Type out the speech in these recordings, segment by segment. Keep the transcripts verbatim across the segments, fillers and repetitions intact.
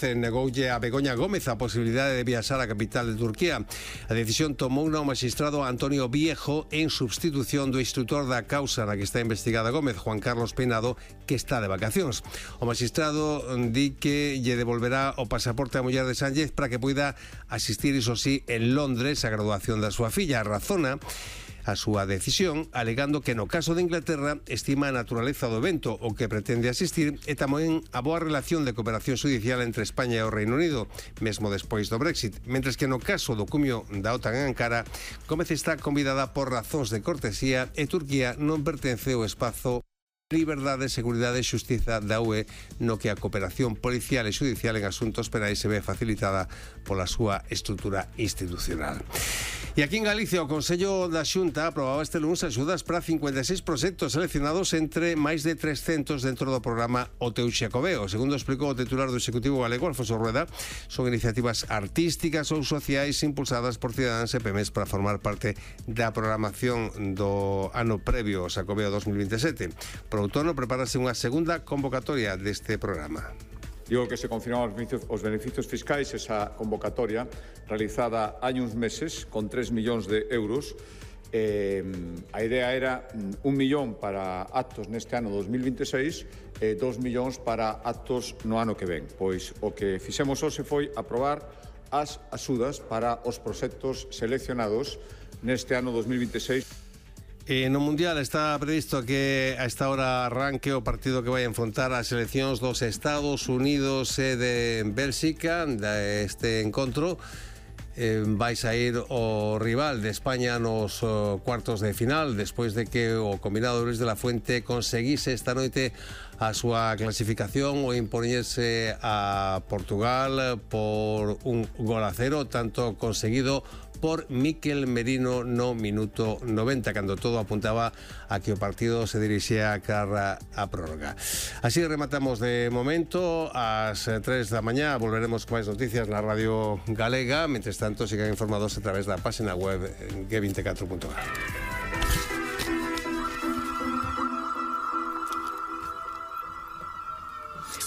Negoulle a Begoña Gómez a posibilidade de viaxar á capital de Turquía. A decisión tomouna o magistrado Antonio Viejo en substitución do instrutor da causa na que está investigada Gómez, Juan Carlos Peinado, que está de vacacións. O magistrado di que lle devolverá o pasaporte á muller de Sánchez para que poida asistir, iso sí, en Londres a graduación da súa filla. Razona a súa decisión, alegando que no caso de Inglaterra estima a naturaleza do evento o que pretende asistir e tamén a boa relación de cooperación judicial entre España e o Reino Unido, mesmo despois do Brexit, mentres que no caso do cumio da OTAN en Ankara, Gómez está convidada por razóns de cortesía e Turquía non pertence ao espazo liberdade, seguridade e xustiza da U E, no que a cooperación policial e judicial en asuntos penais se ve facilitada pola súa estrutura institucional. E aquí en Galicia o Consello da Xunta aprobaba este lunes axudas para cincuenta e seis proxectos seleccionados entre máis de trescentos dentro do programa O Teu Xacobeo. Segundo explicou o titular do Executivo galego, Alfonso Rueda, son iniciativas artísticas ou sociais impulsadas por cidadáns e P M Es para formar parte da programación do ano previo ao Xacobeo dos mil veintisiete. Por outono prepárase unha segunda convocatoria deste programa. Digo que se confirmaron os beneficios fiscais, esa convocatoria realizada hai uns meses con tres millóns de euros. Eh, a idea era un millón para actos neste ano dos mil veintiséis e dos millóns para actos no ano que ven. Pois o que fixemos hoxe foi aprobar as axudas para os proxectos seleccionados neste ano dos mil veintiséis. E no Mundial está previsto que a esta hora arranque o partido que vai a enfrontar as seleccións dos Estados Unidos e de Bélxica. Este encontro eh, vai sair o rival de España nos oh, cuartos de final, despois de que o combinado Luis de la Fuente conseguise esta noite a súa clasificación o impoñerse a Portugal por un gol a cero, tanto conseguido por Mikel Merino no minuto noventa, cando todo apuntaba a que o partido se dirixía a cara a prórroga. Así rematamos de momento. Ás tres da mañá volveremos con máis noticias na Radio Galega. Mentres tanto, sigan informados a través da página web ge veinticuatro punto gal.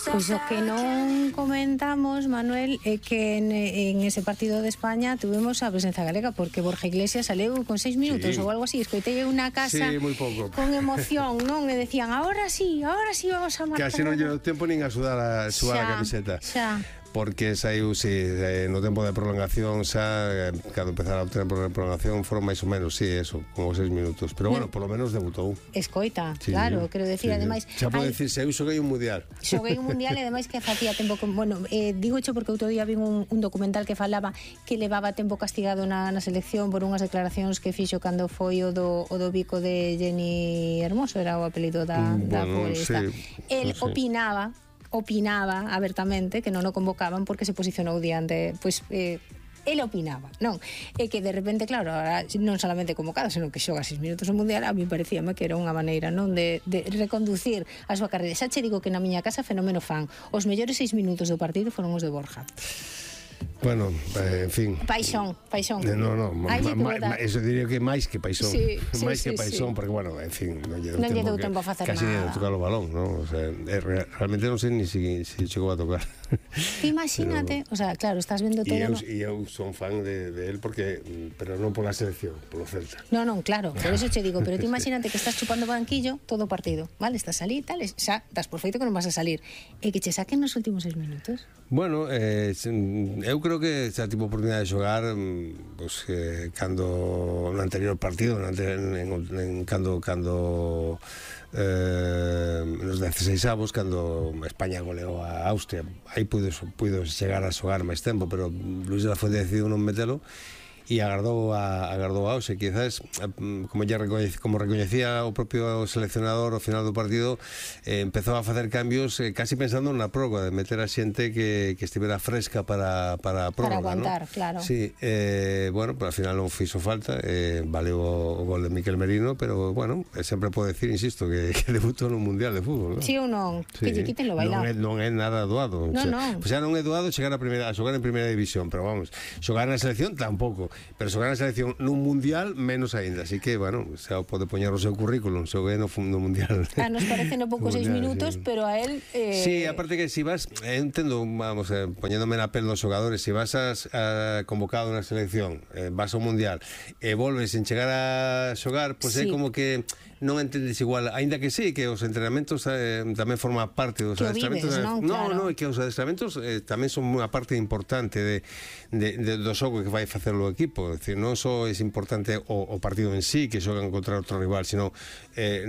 Pois o que non comentamos, Manuel, é que en, en ese partido de España tuvemos a presenza galega, porque Borja Iglesias saleu con seis minutos sí. ou algo así. Escoitei unha casa sí, moi pouco. Con emoción, non? E decían, ahora sí, ahora sí vamos a marcar. Casi non lle deu tempo nin a sudar a súa xa, camiseta. Xa. Porque saiu, si, sí, no tempo de prolongación xa, cando empezara o tempo de prolongación foron máis ou menos, si, sí, eso, como seis minutos, pero bueno, por lo menos debutou. Escoita, sí, claro, quero decir, sí, ademais xa pode decir, se eu xoguei un mundial. Xoguei un mundial e ademais que facía tempo que, bueno, eh, digo xo porque outro día vi un, un documental que falaba que levaba tempo castigado na, na selección por unhas declaracións que fixo cando foi o do, o do bico de Jenny Hermoso, era o apelido da, mm, da bueno, futbolista. Sí, El sí. opinaba opinaba abertamente que non o convocaban porque se posicionou diante, pois eh, ele opinaba, non? E que de repente, claro, ahora non solamente convocado, senón que xoga seis minutos o mundial, a mí parecíame que era unha maneira, non, de, de reconducir a súa carreira. Xa che digo que na miña casa fenómeno fan. Os mellores seis minutos do partido foron os de Borja. Bueno, eh, en fin. Paixón, paixón. Eh, no, no, ma, ma, ma, eso diría que máis que paixón. Sí, sí, máis sí, que paixón, sí. porque, bueno, en fin, non lle deu non tempo, deu tempo a facer casi nada. Casi de tocar o balón, ¿no? O sea, eh, realmente non sei ni si, si chegou a tocar. Imagínate, pero, o sea, claro, estás vendo todo. E eu, e eu son fan de, de él, porque, pero non pola selección, polo Celta. No, non, claro, por eso che digo, pero tú imagínate que estás chupando banquillo todo o partido, vale? Estás ali, tal, xa, das por feito que non vas a salir. E que che saquen nos últimos seis minutos. Bueno, eh, eu creo que xa tipo oportunidade de xogar pues, eh, cando no anterior partido no anterior, en, en, cando cando eh, nos dezaseisaavos cando España goleou a Austria, aí puido, puido chegar a xogar máis tempo, pero Luis de la Fuente decidiu non metelo e agardou a, agardou a Ose. Quizás, como ya recoñecía, como recoñecía o propio seleccionador ao final do partido, eh, empezou a facer cambios eh, casi pensando na prórroga, de meter a xente que, que estivera fresca para, para a prórroga, para aguantar, ¿no? Claro. Sí, eh, bueno, pero ao final non fixo falta, eh, valeu o, o gol de Mikel Merino, pero bueno, sempre pode decir, insisto, que, que debutou no Mundial de Fútbol, ¿no? Sí ou non? Sí. Que lle quiten lo bailado. Non é, non é nada doado. No, o sea, non. Pues xa non é doado chegar a, primeira, a xogar en primeira división, pero vamos, xogar na selección tampouco. pero xogar na selección nun mundial menos aínda, así que, bueno, xa pode poñer o seu currículum, xoguei no, no mundial. A nos parece no pouco seis minutos, sí. Pero a él... Eh... Sí, aparte que si vas, eh, entendo, vamos, eh, poñéndome na pel dos xogadores, si vas a, a convocado na selección, eh, vas ao mundial, e eh, volves en chegar a xogar, pois pues sí. É como que non entendes igual, aínda que sí, que os entrenamentos eh, tamén forma parte dos que adestramentos. Vives, non? No, claro. no, é que os adestramentos eh, tamén son unha parte importante de, de, de, do xogo que vai facer o equipo. É dicir, non só é importante o, o partido en sí, que xogan contra outro rival, sino eh,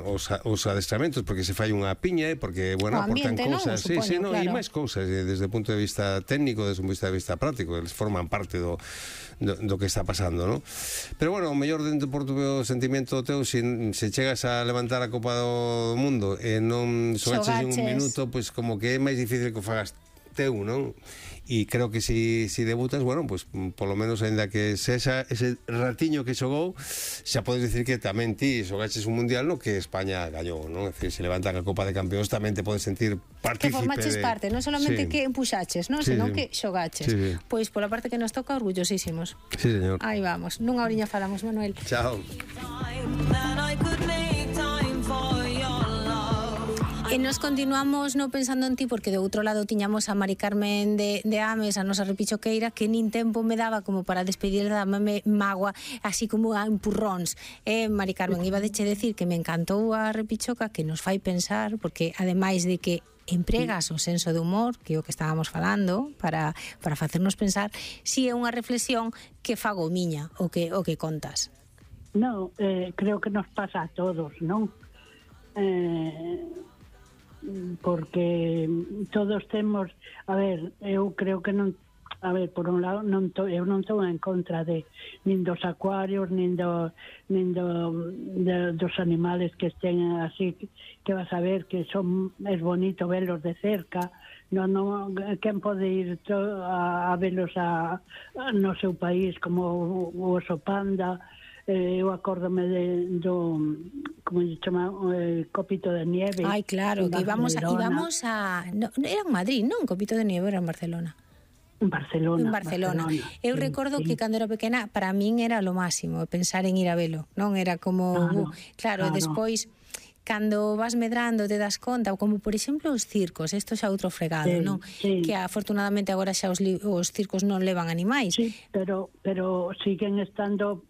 os, os adestramentos, porque se fai unha piña, porque, bueno, aportan cousas. Sí, sí, no, claro. E máis cousas, desde o punto de vista técnico, desde o punto de vista práctico, eles forman parte do, do, do que está pasando, non? Pero, bueno, o mellor dentro por tu sentimento teu, se, se chegas a levantar a Copa do Mundo e non xogaches en un minuto, pois pues, como que é máis difícil que o fagas teu, non? E creo que si, si debutas, bueno, pues polo menos ainda que se esa, ese ratiño que xogou, xa podes dicir que tamén ti xogaches un mundial no que España gañou, non? É dicir, se levantan a Copa de Campeóns tamén te podes sentir partícipe. Que formaches de... parte, non solamente sí. Que empuxaches, non? Sí, senón sí. Que xogaches. Sí, sí. Pois pola parte que nos toca, orgullosísimos. Sí, señor. Aí vamos, nunha oriña falamos, Manuel. Chao. E nos continuamos no pensando en ti, porque de outro lado tiñamos a Mari Carmen de, de Ames, a nosa repichoqueira, que nin tempo me daba como para despedir da mame magua, así como a empurróns. Eh, Mari Carmen, iba de che decir que me encantou a repichoca, que nos fai pensar, porque ademais de que empregas o senso de humor, que é o que estábamos falando, para, para facernos pensar, si é unha reflexión que fago miña, o que, o que contas. No, eh, creo que nos pasa a todos, non? Eh... porque todos temos, a ver, eu creo que non, a ver, por un lado non to, eu non estou en contra de nin dos acuarios, nin do nin do de, dos animales que estén así, que vas a ver que son, es bonito verlos de cerca. Non, non, quen pode ir to, a, a verlos a, a no seu país, como o, o oso panda. Eh, eu acórdome de, do, como se chama, eh, Copito de Nieve. Ai, claro, que íbamos a, íbamos a no, era en Madrid, non? Copito de Nieve era en Barcelona. En Barcelona. En Barcelona. Barcelona. Eu sí, recordo sí. Que cando era pequena, para min era lo máximo, pensar en ir a velo, non? Era como, claro, uh, claro, claro. Despois, cando vas medrando te das conta, como por exemplo os circos, isto xa outro fregado, sí, non? Sí. Que afortunadamente agora xa os, os circos non levan animais. Sí, pero, pero siguen estando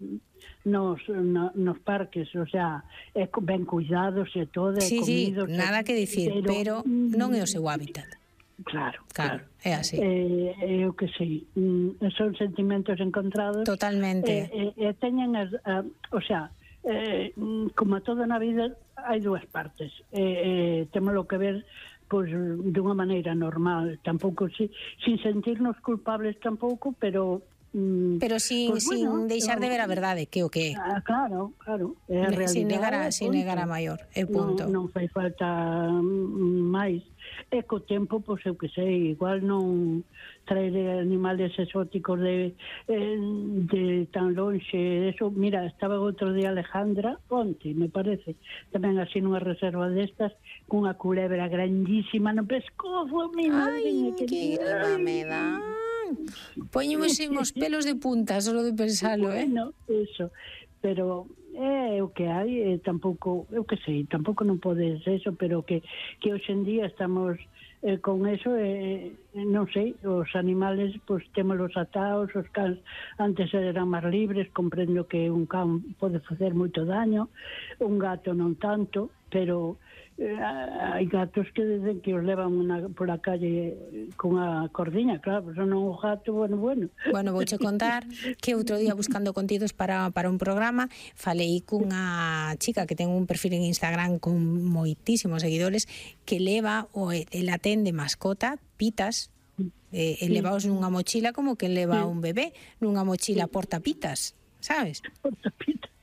nos, no, nos parques, o sea, é ben cuidados e todo, sí, comidos. Sí, nada que dicir, pero, pero non é o seu hábitat. Claro, claro, claro. É así. Eh, eu que sei, son sentimentos encontrados. Totalmente. E eh, eh, teñen, as, uh, o sea, eh, como a toda na vida, hai dúas partes. Eh, eh, temos que ver pois dunha maneira normal, tampouco si, sin sentirnos culpables tampouco, pero pero sin, pues bueno, sin deixar de ver a verdade, que o que é. Ah, claro, claro, é a realidade. Sin negar a, sin negar a maior, é punto. Non, non fai falta máis. E co tempo, pois eu que sei, igual non traer animales exóticos de, de tan lonxe. Eso, mira, estaba outro día Alejandra, onte, me parece, tamén así nunha reserva destas, cunha culebra grandísima no pescozo, mi madre. Ai, que, que grima me dá. Poñemos os pelos de punta solo de pensalo, eh? Bueno, eso, pero é o que hai, eh, tampouco, eu que sei, tampouco non podes eso, pero que que hoxe en día estamos eh, con eso, eh, non sei, os animales, pois pues, témolos atados, os cans antes eran máis libres, comprendo que un can pode facer moito daño, un gato non tanto, pero eh, hai gatos que dicen que os levan una, por a calle con a cordiña, claro, pero non o gato, bueno, bueno. Bueno, vouche contar que outro día buscando contidos para, para un programa, falei cunha chica que ten un perfil en Instagram con moitísimos seguidores que leva o el atende mascota, pitas, eh, elevaos nunha mochila como que leva un bebé, nunha mochila portapitas, sabes? Portapitas.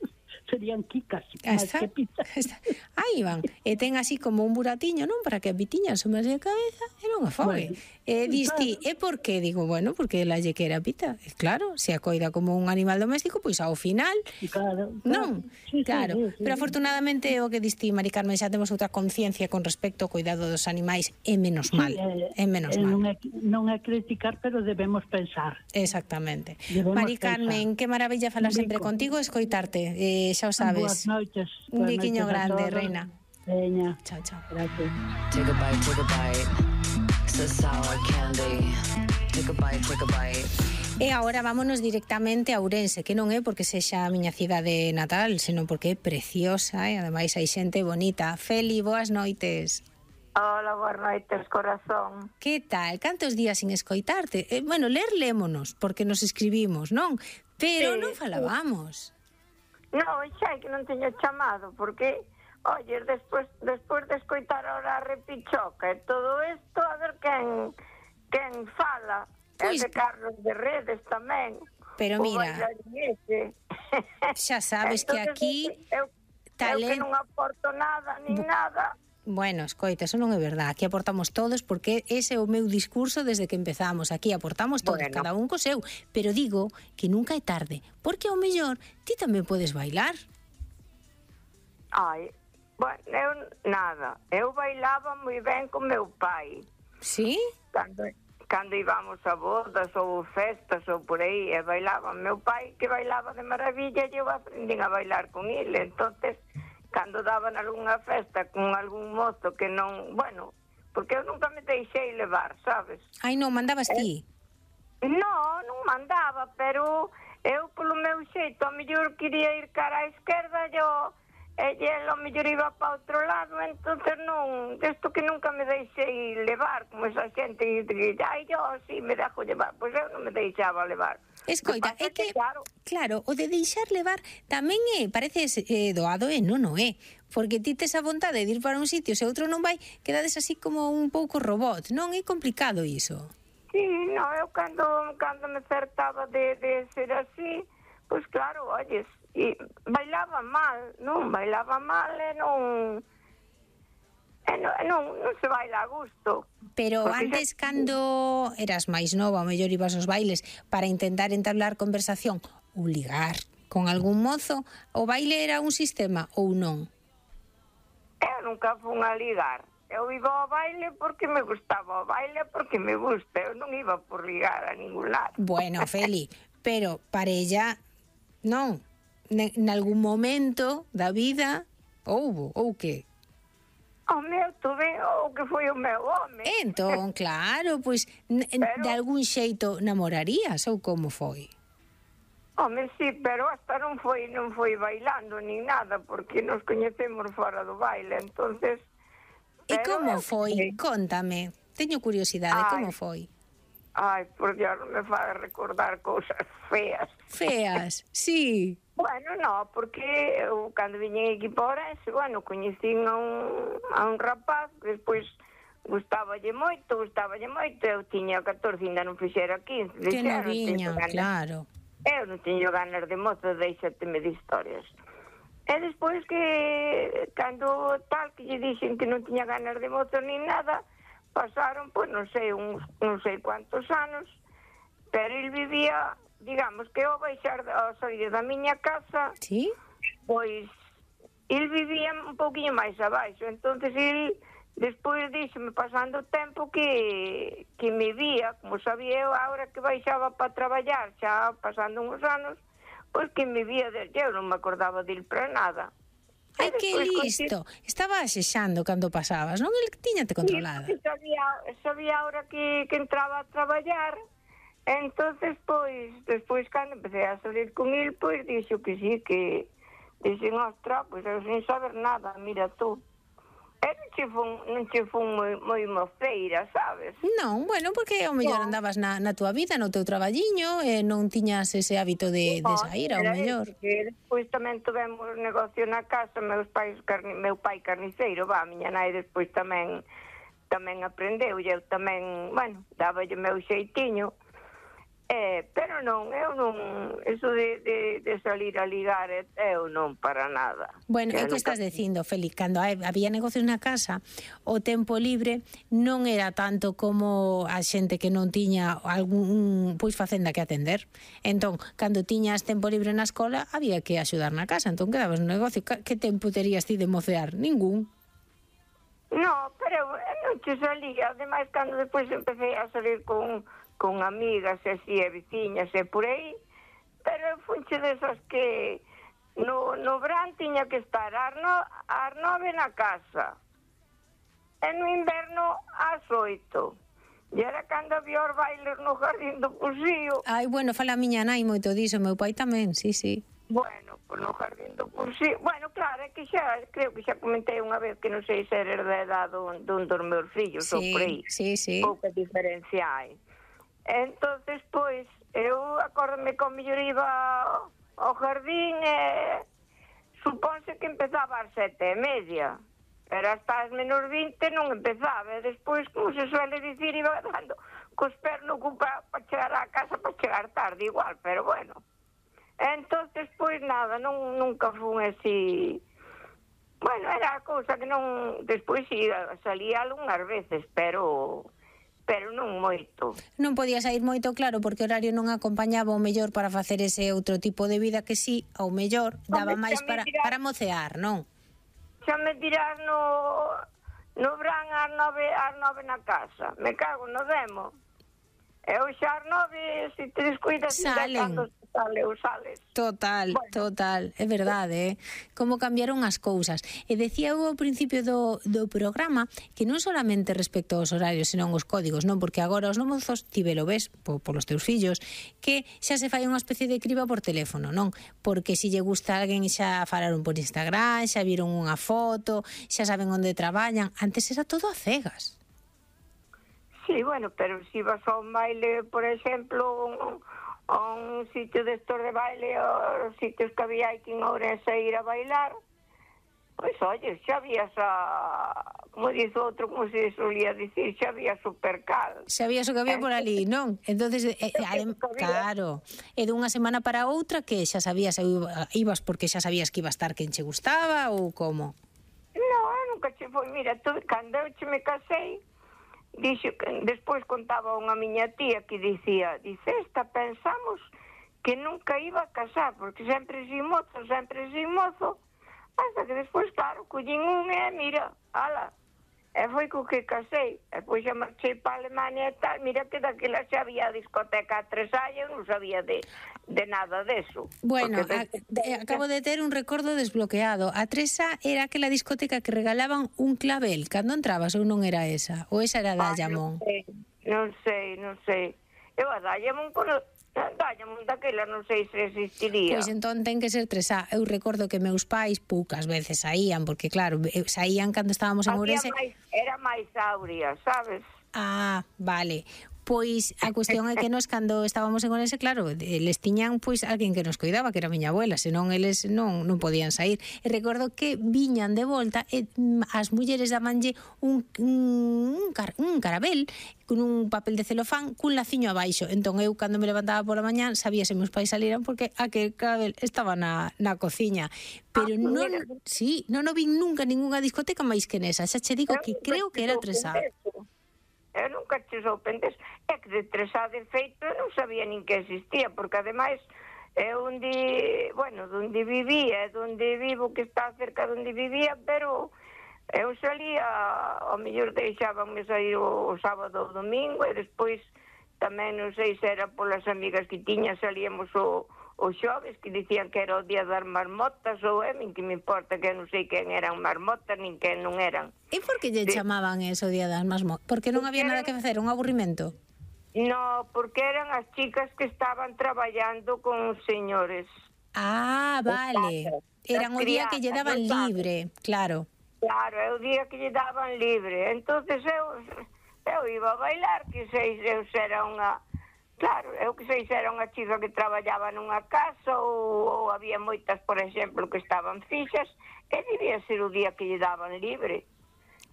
serían quicas, Ah, máis está, que pita. está. Aí van, e ten así como un buratiño, non? Para que a pitiña asomase a cabeza e non a fogue. Bueno, E dis ti, claro. e por que? Digo, bueno, porque ela lle quera pita. E claro, se a coida como un animal doméstico, pois ao final, Claro, non? Sí, sí, Claro, sí, sí, pero sí. afortunadamente o que dis ti, Mari Carmen, xa temos outra conciencia con respecto ao cuidado dos animais, é menos mal, Sí, eh, é menos eh, mal. non é, non é criticar, pero debemos pensar. Exactamente. Debemos Mari pensar. Carmen, que maravilla falar Un sempre bico. contigo e escoitarte. Eh, xa o Boas sabes. noites. Un boas biquiño noites a grande, todos. reina. Veña. Chao, chao. Gracias. Take a bite, take a bite. It's a sour candy. Take a bite, take a bite. E agora vámonos directamente a Ourense, que non é porque sexa a miña cidade natal, senón porque é preciosa e ademais hai xente bonita. Feli, boas noites. Hola, boas noites, corazón. Que tal? Cantos días sin escoitarte? Eh, bueno, ler lémonos, porque nos escribimos, non? Pero Sí, non falábamos. Non, xa é que non teño chamado, porque, oye, despois, despois de escoitar ahora a repichoca e todo isto, a ver quen, quen fala. Pois- É de Carlos de Redes tamén. Pero O mira, bailarín ese. xa sabes que Entonces, aquí eu, talen- eu que non aporto nada, ni nada. Bueno, escoita, eso non é verdad. Aquí aportamos todos porque ese é o meu discurso desde que empezamos. Aquí aportamos todos, Bueno. cada un co seu. Pero digo que nunca é tarde, porque ao mellor ti tamén podes bailar. Ai, bueno, eu nada. Eu bailaba moi ben con meu pai. Sí? Cando, cando íbamos a bodas ou festas ou por aí, e bailaba meu pai, que bailaba de maravilla, e eu aprendín a bailar con ele. Entonces, cando daban algunha festa con algún mozo que non, bueno, porque eu nunca me deixei levar, sabes? Ai, non, mandabas ti. Non, non mandaba, pero eu polo meu xeito, ao mellor quería ir cara á esquerda, yo, e ele ao mellor iba para outro lado, entonces non, desto que nunca me deixei levar, como esa xente que, ai, yo, si, me dejo llevar, pois eu non me deixaba levar. Escoita, Que pasa é que, claro, claro, o de deixar levar tamén é, parece eh, doado e non o é. Porque ti tes a vontade de ir para un sitio, se outro non vai, quedades así como un pouco robot. Non é complicado iso. sí, no, eu cando, cando me acertaba de, de ser así, pois claro, oyes, e bailaba mal, non, bailaba mal e non, e non, e non, non se baila a gusto. Pero Porque antes, xa- cando eras máis nova, ao mellor ibas aos bailes para intentar entablar conversación ou ligar con algún mozo, o baile era un sistema ou non? Eu nunca fun a ligar. Eu iba ao baile porque me gustaba o baile, porque me gusta. Eu non iba por ligar a ningún lado. Bueno, Feli, pero parella, non. Ne- Nalgún momento da vida houbo, ou que? O meu tuve o que foi o meu home. Entón, claro, pois n- n- Pero- de algún xeito namorarías ou como foi? Home, sí, pero hasta non foi non foi bailando nin nada, porque nos coñecemos fora do baile, entonces. E pero como eu foi? sei. Contame. Teño curiosidade, Ai. como foi? Ai, por Dios, non me fa recordar cousas feas. Feas, sí. Bueno, no, porque eu cando viñen aquí para Ourense, bueno, coñecín a un, a un rapaz que despois gustaballe moito, gustaballe moito, eu tiña catorce, ainda non fixera quince. Que dixeron, noviña, teño ganas- claro. Eu non teño ganas de mozo, deixateme de historias. E despois que, cando tal, que lle dixen que non tiña ganas de mozo nin nada, pasaron, pois, non sei, uns, non sei cuantos anos, pero el vivía, digamos, que ao baixar, ao salir da miña casa, Sí? pois, el vivía un pouquinho máis abaixo, entonces el, despois díxome, pasando o tempo, que, que me vía, como sabía eu, agora que baixaba para traballar, xa pasando uns anos, pois que me vía desde eu, non me acordaba del para nada. Ai, E que despois, listo. Estaba axexando cando pasabas, non? El tiñate controlada. Sí, sabía, sabía ahora que, que entraba a traballar, entonces, pois, despois, cando empecé a salir con el, pois, dixo que sí, que dixen, ostra, pois eu sin saber nada, mira tú. E non che fun, non che fun moi, moi mofeira, sabes? Non, bueno, porque ao mellor Non. andabas na, na túa vida, no teu traballiño, e non tiñas ese hábito de, de sair, ao Era mellor. ese, que despois tamén tivemos negocio na casa, meus pais, carni, meu pai carniceiro, va, a miña nai despois tamén tamén aprendeu, e eu tamén, bueno, dáballe meu xeitiño. Eh, pero non, eu non, eso de, de, de salir a ligar, eu non para nada. Bueno, é o que nunca... estás dicindo, Feli, cando había negocios na casa, o tempo libre non era tanto como a xente que non tiña algún, pois, facenda que atender. Entón, cando tiñas tempo libre na escola, había que axudar na casa, entón quedabas no negocio. Que tempo terías ti de mocear? Ningún. No, pero non te salía, ademais, cando depois empecé a salir con... con amigas e así, e veciñas e por aí, pero funche desas que no, no verán tiña que estar ás, no, ás nove na casa e no inverno ás oito, e era cando había os bailes no Jardín do Pusío. Ai, bueno, fala a miña nai moito diso, meu pai tamén, sí, sí. Bueno, pues no Jardín do Pusío, bueno, claro, é que xa, creo que xa comentei unha vez que non sei se eres da edad dun, dun dos meus fillos, sí, ou por aí, sí, sí. pouca diferencia hai. Entonces, pois, eu acórdame con mellor iba ao jardín e supónse que empezaba ás sete e media, pero hasta as menos vinte non empezaba, e despois, como se suele dicir, iba dando cos pés no ocupa para chegar á casa, para chegar tarde igual, pero bueno. Entonces, pois nada, non, nunca fun así... Bueno, era a cousa que non... Despois salía algunhas veces, pero... pero non moito. Non podía sair moito, claro, porque o horario non acompañaba o mellor para facer ese outro tipo de vida que sí, ao mellor, daba máis para, para mocear, non? Xa me dirás no, no verán ás nove, ás nove na casa. Me cago no demo. Eu xa ás nove, se te descuidas... Salen. Sale, ou sales. Total, bueno. total, é verdade, eh? Como cambiaron as cousas. E decía eu ao principio do, do programa que non solamente respecto aos horarios, senón os códigos, non? Porque agora os mozos, ti velo ves, po, polos teus fillos, que xa se fai unha especie de criba por teléfono, non? Porque se lle gusta a alguén xa falaron por Instagram, xa viron unha foto, xa saben onde traballan. Antes era todo a cegas. Sí, bueno, pero se si vas a un baile, por exemplo... Un... a un sitio de estos de baile, os sitios que había aquí en Ourense a ir a bailar, pois, oye, xa había a, como dice outro, como se solía dicir, xa había supercal. Xa había o que había por ali, non? Entonces, eh, adem, claro, e dunha semana para outra que xa sabías, ibas porque xa sabías que iba a estar quen che gustaba ou como? No, nunca che foi, mira, tú, cando eu che me casei, dixo que despois contaba unha miña tía que dicía, dice, esta pensamos que nunca iba a casar, porque sempre sin mozo, sempre sin mozo, hasta que despois, claro, collín un e mira, ala, e foi co que casei, e pois xa marchei para Alemania e tal, mira que daquela xa había discoteca a tres años, non sabía de, de nada deso. Bueno, de, a, de, acabo de ter un recordo desbloqueado. A Tresa era aquela discoteca que regalaban un clavel cando entrabas ou non era esa? Ou esa era da Diamond? Non sei, non sei. Eu a Diamond, cono... Diamond daquela non sei se existiría. Pois entón ten que ser Tresa. Eu recordo que meus pais poucas veces saían, porque claro, saían cando estábamos en Ourense. Era máis áurea, sabes? Ah, vale. Pois a cuestión é que nos cando estábamos en Ourense, claro, les tiñan pois alguén que nos coidaba, que era a miña abuela, senón eles non non podían sair. E recordo que viñan de volta e as mulleres dabanlle un un, car, un carabel con un papel de celofán cun laciño abaixo. Entón eu cando me levantaba pola mañán sabía se meus pais saliran porque aquel carabel estaba na na cociña. Pero ah, non, sí, non o vin nunca ningunha discoteca máis que nesa. Xa che digo que creo que era Tresa. Eu nunca che sorprendes. É que de Tresa, de feito, non sabía nin que existía, porque ademais é onde, bueno, onde vivía, onde vivo, que está cerca de onde vivía, pero eu salía, ao mellor deixábanme sair o, o sábado ou domingo, e despois tamén non sei se era polas amigas que tiña, salíamos o os xoves que dicían que era o día das marmotas, ou é, min que me importa, que non sei quen eran marmotas, nin quen non eran. E por que lle de... chamaban eso o día das marmotas? Porque non había nada que facer, un aburrimento? No, porque eran as chicas que estaban traballando con os señores. Ah, vale. Eran o día que lle daban libre, claro. Claro, é o día que lle daban libre. Entonces eu, eu iba a bailar, que sei, eu era unha... Claro, eu que sei se era unha chica que traballaba nunha casa ou, ou había moitas, por exemplo, que estaban fixas, e debía ser o día que lle daban libre.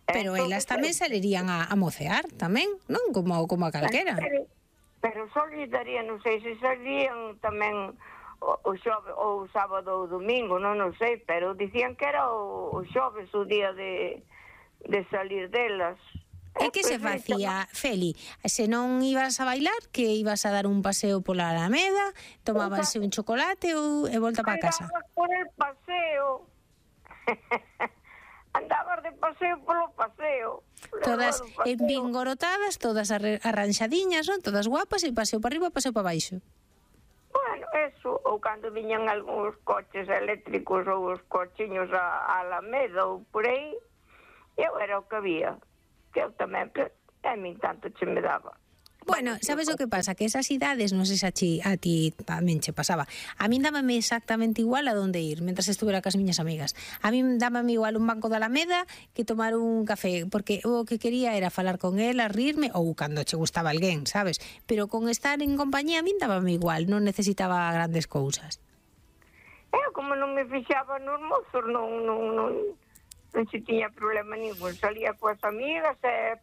Pero entón, elas tamén salerían a, a mocear, tamén, non? Como, como a calquera. Pero, Pero só lles daría, non sei se salían tamén o, o xove, ou o sábado ou o domingo, non, non sei, pero dicían que era o, o xoves o día de, de salir delas. E que se facía, Feli? Se non ibas a bailar, que ibas a dar un paseo pola Alameda, tomábanse un chocolate ou e volta para casa? Andabas por el paseo. Andabas de paseo polo paseo. Todas paseo. envingorotadas, todas arranxadiñas, non? Todas guapas, e paseo para arriba, paseo para baixo. Bueno, eso, ou cando viñan algúns coches eléctricos ou os cochiños a, a Alameda ou por aí, eu era o que había. Que eu tamén, a min tanto che me daba. Bueno, sabes o que pasa? Que esas idades, non sei se a ti, a ti tamén che pasaba. A min dábame exactamente igual a donde ir, mentras estuvera cas miñas amigas. A min dábame igual un banco de Alameda que tomar un café, porque o que quería era falar con ela, rirme, ou cando che gustaba alguén, sabes? Pero con estar en compañía a min dábame igual, non necesitaba grandes cousas. Eu, como non me fixaba nos mozos, non, non, non, non se tiña problema ningún. Salía coas amigas e